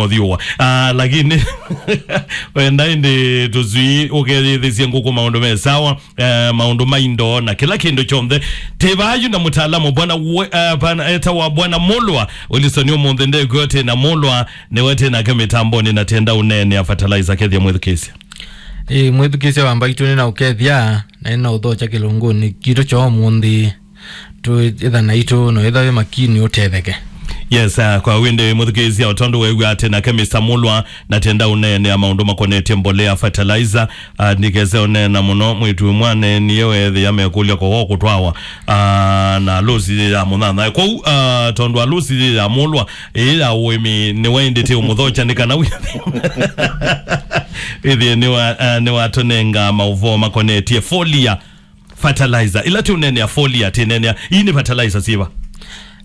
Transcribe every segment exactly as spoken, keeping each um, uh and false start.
mothiũwa. Ah, lakini wenda ĩndĩ tũswii ũkeyĩthĩsye ngũkũ maũndũ me sawa, eh, maũndũ ma indo na kĩla kĩndũ kyonthe. Tĩ vaa yu na mũtaalamu bwana we-, eh, bwana, etawa bwana Mulwa Wilson ũmũnthĩ ndĩkw'o tĩ na Mulwa, nĩwe tĩ nake mĩtambonĩ na tenda ũneenea fertilizer kethĩa mwĩthukĩĩsya. Ĩ, mwĩthukĩĩsya wa Mbaitũ nĩ na ũkethya, na nĩ na ũthokya kĩlungunĩ kitũ kya ũmũnthĩ. Twĩtha naitũ no ĩtha wĩ makini ũtetheke. Yes, uh, kwa wĩndĩ mũthukĩĩsya, o tondũ weew'a atĩ nake Mister Mulwa na tenda ũneenea maũndũ makonetye mbolea, fertilizer, uh, ndikese ũneena mũno, mwĩtu mwaneenie weethĩa mekũlya kowo kũtwawa, uh, na alũsi yĩ ya mũnyanya. Kwoou, uh, tondũ alũsi yĩ ya Mulwa, ĩĩ ya ũĩmi nĩwe ĩndĩ tĩ ũmũthokya nĩ kana wĩthĩe, wĩthĩe nĩwa-, uh, nĩwatũnenga maũvoo makonetye foliar fertilizer. Ĩla tũneenea foliar, tĩneenea, ii nĩ fertilizer syĩva?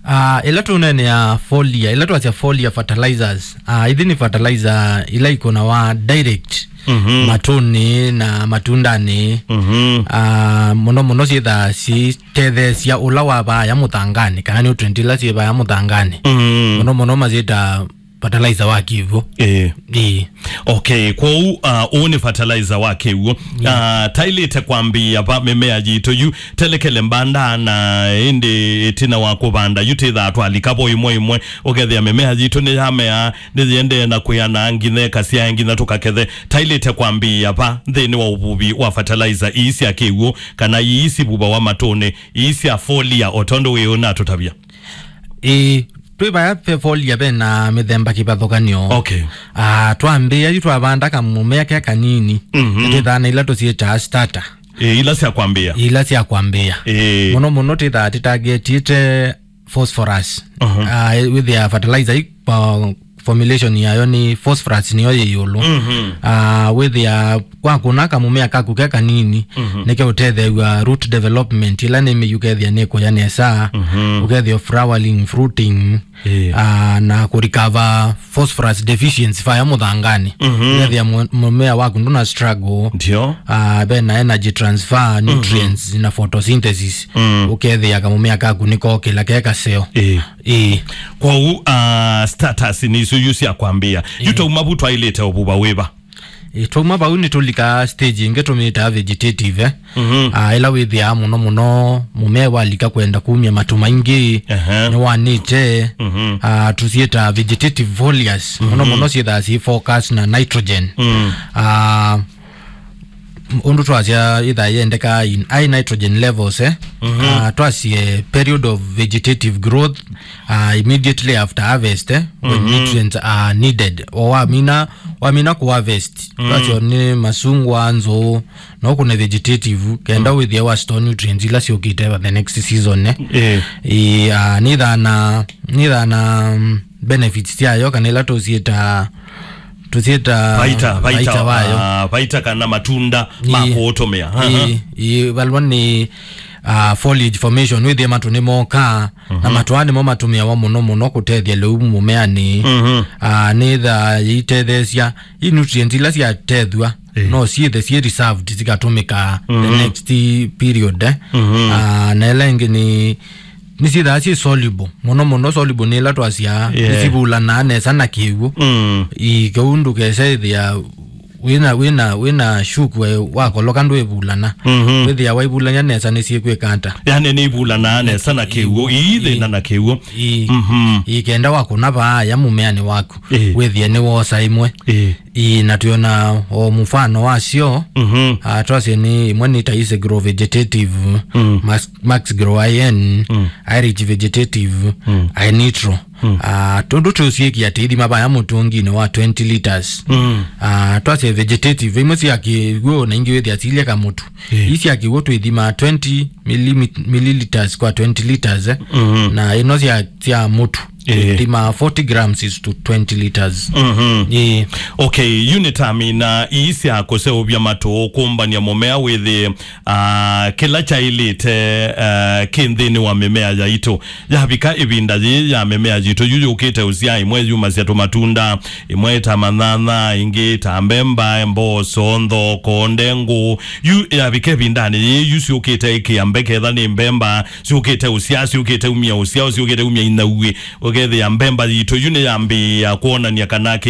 Ah, ĩla tũneenea foliar, ĩla twasya foliar fertilizers, ah, ithi nĩ fertilizer ila ikũnawa direct Mhm. matũnĩ na matundanĩ. Mhm. Ah, mũno mũno syĩthaa syĩtetheesya ũla wa vaaya mũthanganĩ, kana nutrient ila syĩ vaaya mũthanganĩ. Mhm. Mũno mũno masyĩta fertilizer wa kĩw'ũ. Ĩĩ. Ĩĩ. Okay, kwoou, uh, ũũ nĩ fertilizer wa kĩw'ũ. Yeah. Uh, taĩlĩte kwambĩĩa va mĩmea yitũ yu, telekele mbanda na ĩndĩ ĩtina wa kũvanda yu tĩthaa twalika vo ĩmwe ĩmwe, ũkethĩa mĩmea yitũ nĩyamea, nĩyĩendee na kwĩana nginya ĩkasyae nginya tũkakethe. Taĩlĩte kwambĩĩa va nthĩnĩ wa ũvuvi wa fertilizer ii sya kĩw'ũ, kana ii sivuvawa matũnĩ, ii sya foliar, o tondũ wĩ ũnatũtavya? Ĩĩ, twĩ vaya ve foliar ve na mĩthemba kĩvathũkanyo. Okay. Ah, twambĩĩa yu twavanda kamũmea ke kanini. Mhm. Twĩthaa na ila tũsyĩtaa starter. Ĩĩ, ila sya kwambĩĩa. Ila sya kwambĩĩa. Ĩĩ. Mũno mũno twĩthaa tũtargetĩte phosphorus. Mhm. Ah, wĩthĩa fertilizer i, uh, formulation yayo nĩ phosphorus nĩyo yĩ ĩũlũ. Mhm. Ah, wĩthĩa wakũna kamũmea kaku ke kanini, Mhm. nĩke ũtetheew'a root development, ĩla nĩ mĩu kethĩa nĩ kũya nesa, Mhm. ũkethĩa flowering, fruiting, Ĩĩ. ah, na kũrecover phosphorus deficiency vaya mũthanganĩ. Mhm. Ũkethĩa mũ-, mũmea waku ndũna struggle. Ndio. Ah, ve na energy transfer, Mhm. nutrients, na photosynthesis. Mm. Ũkethĩa kamũmea kaku nĩkokĩla ke kaseo. Ĩĩ. Ĩĩ. Kwoou, ah, starters nĩ isu yu sya kwambĩĩa. Yu Ĩĩ. Twauma vu twaĩlĩte ũvuva wĩva? Ĩ, twauma vau nĩtũlikaa stage ĩngĩ tũmĩtaa vegetative, eh. Mhm. Ah, ĩla wĩthĩaa mũno mũno mũmea walika kwenda kumya matũ maingĩ, Ehe. nĩwanĩte, Mhm. ah, tũsyĩtaa vegetative foliars. Mũno Mhm. mũno syĩthaa syĩ focus na nitrogen. Mm. Ah, m-, ũndũ twasya ĩthaa yendekaa in high nitrogen levels, eh. Mhm. Ah, twasye period of vegetative growth, ah, immediately after harvest, eh, when Mhm. nutrients are needed. O wamina, wamina kũ harvest, Mm. twasyo nĩ masungwa, nzũũ, no kũne vegetative, kenda Mm. wĩthĩe wa store nutrients ila syũkĩte the next season, eh. Eh. Ĩ, ah, nĩthaa na, nĩthaa na, mm, benefits syayo, kana ila tũsyĩta, tũsyĩta Vaita, vaita, vaita wayo. Ah, vaita kana matunda ma Ĩ. kũũtũmĩa. Aha. Ĩ, ĩ, valwa nĩ, ah, foliage formation, wĩthĩe matũ nĩmokaa, na Mhm. matũ aa nĩmo matũmĩawa mũno mũno kũtethya lĩu mũmeanĩ. Mhm. Ah, nĩthaa yĩitetheesya i nutrient ila syatethw'a, Ĩ. no syĩthe syĩ reserved, sikatũmĩka the Mhm. next period, eh. Mhm. Ah, na ĩla ĩngĩ nĩ, nĩsyĩthaa syĩ soluble. Mũno mũno soluble nĩ ĩla twasya, Yeah. nĩsivulanaa nesa na kĩw'ũ. Mm. Ĩ, kĩu ndũkese ĩthĩa wĩna, wĩna, wĩna shuku, eh, wakoloka ndwĩvulana. Mhm. Wĩthĩa waivulany'a nesa nĩsyĩkwĩka ata? Yani nĩivulanaa nesa na kĩw'ũ, iithĩna na kĩw'ũ. Ĩĩ. Mhm. Ĩĩ, kenda wakũna vaaya mũmeanĩ waku, Ĩĩ. wĩthĩe nĩwosa ĩmwe. Ĩĩ. Ĩĩ, na twĩona o mũfano wasyo, Mhm. ah, twasye nĩ ĩmwe nĩ ta Easy Grow Vegetative, Mm. Max, Max Grow I N, Mm. Irish Vegetative, Mm. I Nitro. Mm. Ah, tũndũ tũsyĩkia tĩithima vaya mũtũnginĩ wa twenty liters. Mm. Ah, twasye vegetative, imwe sya kĩw'ũ na ingĩ wĩthĩa silye kamũtu. Ĩĩ. Ii sya kĩw'ũ twĩthimaa twenty millimi-, milliliters kwa twenty liters, eh. Mhm. Na ĩno sya, sya mũtu, Ĩĩ. twĩthimaa forty grams is to twenty liters. Mhm. Ĩĩ. Okay, unit amina ii sya kũseũvya matũ, kũmbany'a mũmea wĩthĩe, ah, kĩla kyaĩlĩte, ah, kĩ nthĩnĩ wa mĩmea yaitũ. Yavika ĩvinda yĩĩ ya mĩmea yitũ yu yũkĩte ũsyaa, ĩmwe yumasya tũmatunda, ĩmwe ta manyanya, ĩngĩ ta mbemba, mboso, nthoko, ndengũ. Yu yavika ĩvindanĩ yĩĩ, yu syũkĩte ĩkĩa mbeke, etha nĩ mbemba, syũkĩte ũsyaa, syũkĩte umya ũsyao, syũkĩte umya inauĩ. Ũkethĩa mbemba yitũ yu nĩyambĩĩa kwonany'a kana